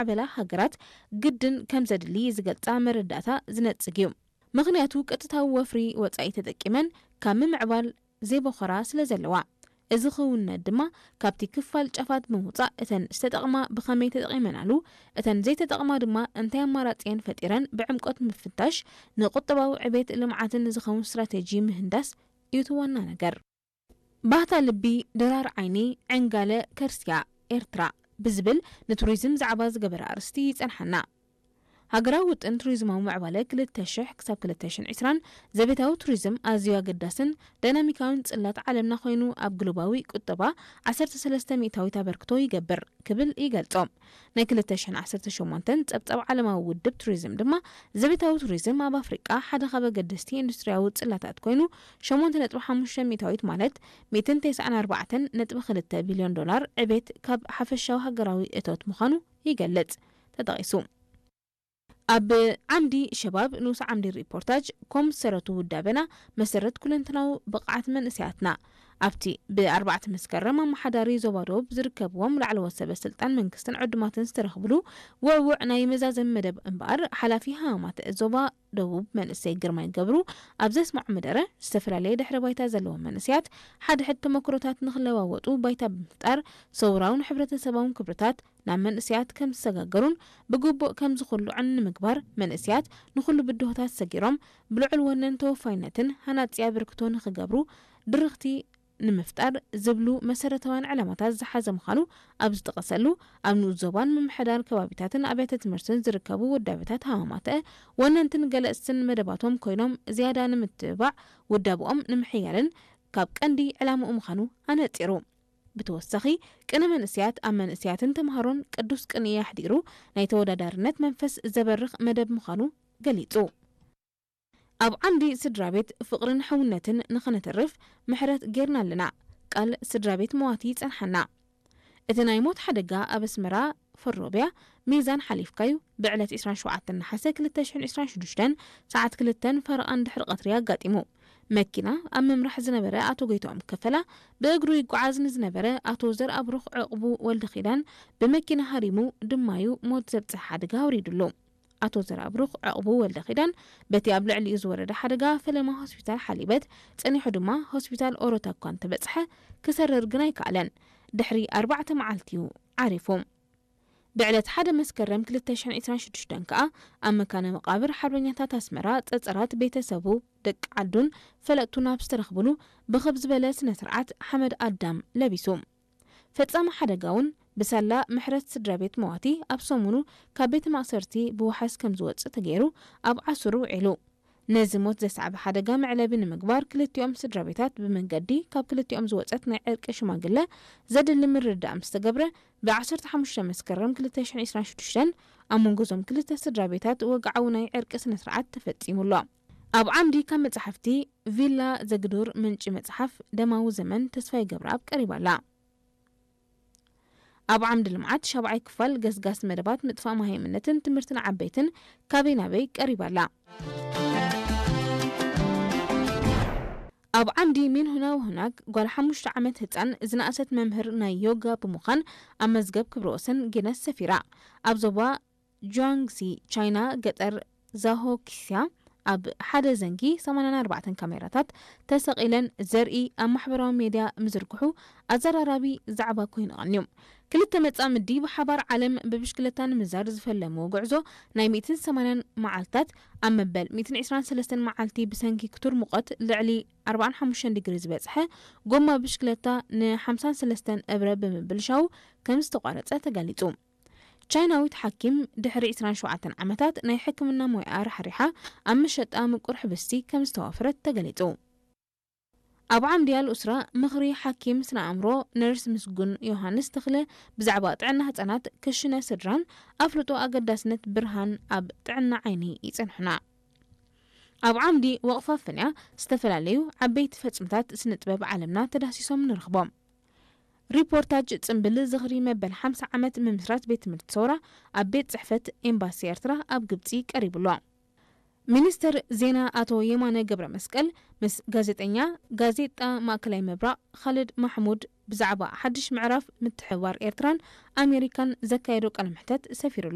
ዝማዕበላ ሃገራት ግድን ከም ዘድሊ ዝገልጻ መረዳእታ ዝነጽግ እዩ። ምኽንያቱ ቀጥታዊ ወፍሪ ወጻኢ ተጠቂመን ካብ ምምዕባል ዘይበኾራ ስለ ዘለዋ። እዚ ክውንነት ድማ ካብቲ ክፋል ጫፋት ብምውጻእ እተን ዝተጠቕማ ብኸመይ ተጠቒመናሉ፣ እተን ዘይተጠቕማ ድማ እንታይ ኣማራጺ እየን ፈጢረን ብዕምቆት ምፍታሽ ንቁጠባዊ ዕቤት ልምዓትን ዝኸውን ስትራቴጂ ምህንዳስ እዩ እቲ ዋና ነገር። ባህታ ልቢ፣ ድራር ዓይኒ፣ ዕንጋለ ከርስያ ኤርትራ ብዝብል ንቱሪዝም ዛዕባ ዝገበረ ኣርእስቲ ይጸንሓና። ሃገራዊ ውጥን ቱሪዝማዊ ምዕባለ ክልተ ሽሕ ክሳብ ክልተ ሽሕን ዕስራን ዘቤታዊ ቱሪዝም ኣዝዩ ኣገዳስን ዳይናሚካዊን ጽላት ዓለምና ኮይኑ ኣብ ግሎባዊ ቁጠባ ዓሰርተ ሰለስተ ሚእታዊት ኣበርክቶ ይገብር ክብል ይገልጾ። ናይ ክልተ ሽሕን ዓሰርተ ሸሞንተን ጸብጻብ ዓለማዊ ውድብ ቱሪዝም ድማ ዘቤታዊ ቱሪዝም ኣብ ኣፍሪቃ ሓደ ካብ ኣገደስቲ ኢንዱስትሪያዊ ጽላታት ኮይኑ ሸሞንተ ነጥቢ ሓሙሽተ ሚእታዊት ማለት ሚእትን ተስዓን ኣርባዕተን ነጥቢ ክልተ ቢልዮን ዶላር ዕቤት ካብ ሓፈሻዊ ሃገራዊ እቶት ምዃኑ ይገልጽ ተጠቒሱ። ኣብ ዓምዲ ሸባብ ንኡስ ዓምዲ ሪፖርታጅ ኮም ዝሰረቱ ውዳበና መሰረት ኩለንትናዊ ብቕዓት መንእሰያትና ኣብቲ ብኣርባዕተ መስከረም ኣመሓዳሪ ዞባ ደቡብ ዝርከብዎም ላዕለዎት ሰበ ስልጣን መንግስትን ዕዱማትን ዝተረኽብሉ ውዕውዕ ናይ መዛዘሚ መደብ እምበኣር ሓላፊ ሃማማተ ዞባ ደቡብ መንእሰይ ግርማይ ገብሩ ኣብ ዘስምዖ መደረ ዝተፈላለየ ድሕረ ባይታ ዘለዎም መንእሰያት ሓድሕድ ተመክሮታት ንክለዋወጡ ባይታ ብምፍጣር ሰውራውን ሕብረተሰባውን ክብርታት ናብ መንእሰያት ከም ዝሰጋገሩን ብግቡእ ከም ዝኹልዑን ንምግባር መንእሰያት ንኹሉ ብድሆታት ሰጊሮም ብልዑል ወነን ተወፋይነትን ሃናጺ ኣበርክቶ ንክገብሩ ድርኽቲ ንምፍጣር ዝብሉ መሰረታውያን ዕላማታት ዝሓዘ ምዃኑ ኣብ ዝጠቐሰሉ ኣብ ንኡስ ዞባን ምምሕዳር ከባቢታትን ኣብያተ ትምህርትን ዝርከቡ ውዳበታት ሃማማተ ወነንትን ገለጽትን መደባቶም ኮይኖም ዝያዳ ንምትብባዕ ውዳብኦም ንምሕያልን ካብ ቀንዲ ዕላምኡ ምዃኑ ኣነጺሩ። ብተወሳኺ ቅነ መንእሰያት ኣብ መንእሰያትን ተምሃሮን ቅዱስ ቅንኢ ኣሕዲሩ ናይ ተወዳዳርነት መንፈስ ዘበርኽ መደብ ምዃኑ ገሊጹ። ኣብ ዓምዲ ስድራ ቤት ፍቕርን ሕውነትን ንኸነተርፍ ምሕረት ጌርና ኣለና። ቃል ስድራ ቤት መዋቲ ይጸንሓና። እቲ ናይ ሞት ሓደጋ ኣብ ኣስመራ ፈሮብያ ሚዛን ሓሊፍካዩ ብዕለት ዕስራን ሸውዓተን ነሓሰ ክልተ ሽሕን ዕስራን ሽዱሽተን ሰዓት ክልተን ፈረቓን ድሕሪ ቀትሪ ኣጋጢሙ። መኪና ኣብ ምምራሕ ዝነበረ ኣቶ ጎይትኦም ከፈላ ብእግሩ ይጓዓዝ ንዝነበረ ኣቶ ዘርኣብሩኽ ዕቕቡ ወልደ ኪዳን ብመኪና ሃሪሙ ድማዩ ሞት ዘብጽሕ ሓደጋ ኣውሪዱሉ። ኣቶ ዘርኣብሩኽ ዕቕቡ ወልደ ኪዳን በቲ ኣብ ልዕሊኡ ዝወረደ ሓደጋ ፈለማ ሆስፒታል ሓሊበት ጸኒሑ ድማ ሆስፒታል ኦሮታ እኳ እንተበጽሐ ክሰርር ግን ኣይከኣለን። ድሕሪ ኣርባዕተ መዓልቲ እዩ ዓሪፉ። ብዕለት ሓደ መስከረም ክልተ ሽሕን ዕስራን ሽዱሽተን ከኣ ኣብ መካነ መቓብር ሓርበኛታት ኣስመራ ጸጸራት ቤተሰቡ ደቂ ዓዱን ፈለጥቱን ኣብ ዝተረኽብሉ ብኽብ ዝበለ ስነ ስርዓት ሓመድ ኣዳም ለቢሱ። ፈጻሚ ሓደጋ እውን ብሳላ ምሕረት ስድራ ቤት መዋቲ ኣብ ሰሙኑ ካብ ቤተ ማእሰርቲ ብዋሕስ ከም ዝወጽእ ተገይሩ ኣብ ዓሱሩ ውዒሉ። ነዚ ሞት ዘስዓበ ሓደጋ መዕለቢ ንምግባር ክልቲኦም ስድራ ቤታት ብመንገዲ ካብ ክልቲኦም ዝወጸት ናይ ዕርቂ ሽማግለ ዘድሊ ምርድዳእ ምስ ተገብረ ብ ዓሰርተ ሓሙሽተ መስከረም ክልተ ሽሕን ዕስራን ሽዱሽተን ኣብ መንጎ እዞም ክልተ ስድራ ቤታት ወግዓዊ ናይ ዕርቂ ስነ ስርዓት ተፈጺሙ ኣሎ። ኣብ ዓምዲ ካብ መጻሕፍቲ ቪላ ዘግዱር ምንጪ መጽሓፍ ደማዊ ዘመን ተስፋይ ገብረኣብ ቀሪባ ኣላ። ኣብ ዓምዲ ልምዓት ሻብዓይ ክፋል ገስጋስ መደባት ምጥፋእ መሃይምነትን ትምህርትን ዓበይትን ካበይ ናበይ ቀሪባ ኣላ። ኣብ ዓምዲ ሚንሁና ወሁናግ ጓል ሓሙሽተ ዓመት ህጻን ዝነኣሰት መምህር ናይ ዮጋ ብምዃን ኣብ መዝገብ ክብረ ወሰን ጊነስ ሰፊራ። ኣብ ዞባ ጁዋንግዚ ቻይና ገጠር ዛሆኪስያ ኣብ ሓደ ዘንጊ ሰማንያን ኣርባዕተን ካሜራታት ተሰቒለን ዘርኢ ኣብ ማሕበራዊ ሜድያ ምዝርግሑ ኣዘራራቢ ዛዕባ ኮይኑ ቀንዩ። ክልተ መጻምዲ ብሓባር ዓለም ብብሽክለታ ንምዛር ዝፈለምዎ ጉዕዞ ናይ ሚእትን ሰማንያን መዓልታት ኣብ መበል ሚእትን ዕስራን ሰለስተን መዓልቲ ብሰንኪ ክቱር ሙቐት ልዕሊ ኣርባዓን ሓሙሽተን ዲግሪ ዝበጽሐ ጎማ ብሽክለታ ንሓምሳን ሰለስተን እብረ ብምብልሻው ከም ዝተቋረጸ ተገሊጹ። ቻይናዊት ሓኪም ድሕሪ ዕስራን ሸውዓተን ዓመታት ናይ ሕክምና ሞያኣ ራሕሪሓ ኣብ መሸጣ ምቁር ሕብስቲ ከም ዝተዋፈረት ተገሊጹ። ኣብ ዓምዲ ኣልኡስራ ምኽሪ ሓኪም ስነ ኣእምሮ ነርስ ምስጉን ዮሃንስ ተኽለ ብዛዕባ ጥዕና ህጻናት ክሽነ ስድራን ኣፍልጦ ኣገዳስነት ብርሃን ኣብ ጥዕና ዓይኒ ይጸንሑና። ኣብ ዓምዲ ወቕፋ ፍንያ ዝተፈላለዩ ዓበይቲ ፈጽምታት ስነ ጥበብ ዓለምና ተዳሲሶም ንረኽቦም። ሪፖርታጅ ጽምብል ዝኽሪ መበል ሓምሳ ዓመት ምምስራት ቤት ትምህርቲ ሰውራ ኣብ ቤት ጽሕፈት ኤምባሲ ኤርትራ ኣብ ግብጺ ቀሪቡ ኣሎ። ሚኒስተር ዜና ኣቶ የማነ ገብረ መስቀል ምስ ጋዜጠኛ ጋዜጣ ማእከላይ ምብራቕ ካልድ ማሕሙድ ብዛዕባ ሓድሽ ምዕራፍ ምትሕብባር ኤርትራን ኣሜሪካን ዘካየዶ ቃለ መሕተት ሰፊሩ ኣሎ።